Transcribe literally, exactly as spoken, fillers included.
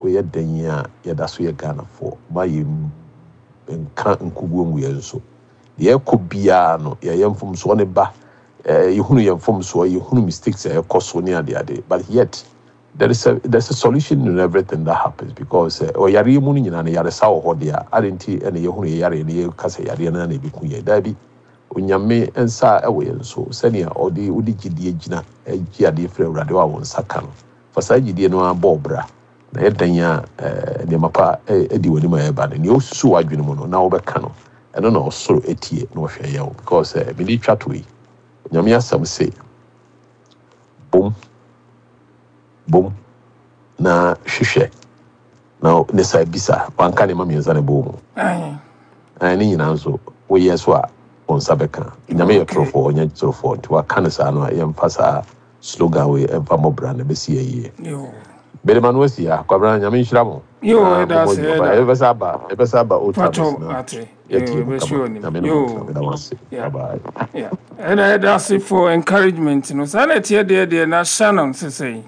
Woyɛ dan a yɛda so yɛ Ghanafoɔ ma yɛ nka nkuguo ngu yɛn so. Deɛ ɛkɔ biara no, yɛyɛ mfomsoɔ ne ba, ɛɛ yɛhunu yɛn mfomsoɔ, yɛhunu mistakes a ɛkɔ so ne adeade, but yet there is a there's a solution in everything that happens, because ɔyareɛ mu no nyinaa no, yaresa wɔ hɔ deɛ. Ade nti ɛna yɛhunu yɛ yareɛ no, yɛka sɛ yareɛ no na ɛbɛku yɛn? Daabi, Onyame nsa ɛwɔ yɛn so. Sɛnea ɔde wode gyidie gyina gye adeɛ firi Awurade hɔ a wɔn nsa ka no, fa saa gyidie no abɔ ɔbra na yɛdan a ɛɛ nneɛma pa ɛdi wɔ anim a ɛreba no, nea osusu w'adwene mu no na wɔbɛka no, ɛno na ɔsoro etie na ɔhwɛ yɛn o, because ɛɛ mede twa to yi, Onyame asɛm se bom bom na hwehwɛ na ne sa bisa. Wanka nneɛma mmiɛnsa na ɛbɔ mu. Aye. Ɛne nyinaa nso woyɛ so a, wɔn nsa bɛka. Nyame yɛ Okay. torofoɔ, ɔnyɛ torofoɔ, nti waka no saa no a, yɛmfa saa slogan wei ɛmfa mmɔbra na ɛbɛsi yɛ yie. Yo. Bɛde ma no asi ha. Kwabena, Nyame nhyira mo. Yo, Na ɛda mommɔ ase, adwuma pa. ɛda. Ɛbɛsɛ aba, ɛbɛsɛ aba Old Timers Patro na ate. Yo, yɛtie mu ɛbɛsi kama. wɔ nim. Nyame ne mo ntena. Yo. Meda mo ase. Yeah. Bye bye. Yeah. Ɛda ɛda ase for encouragement no. Saa na ɛteɛ deɛ deɛ na Shannon sesɛn.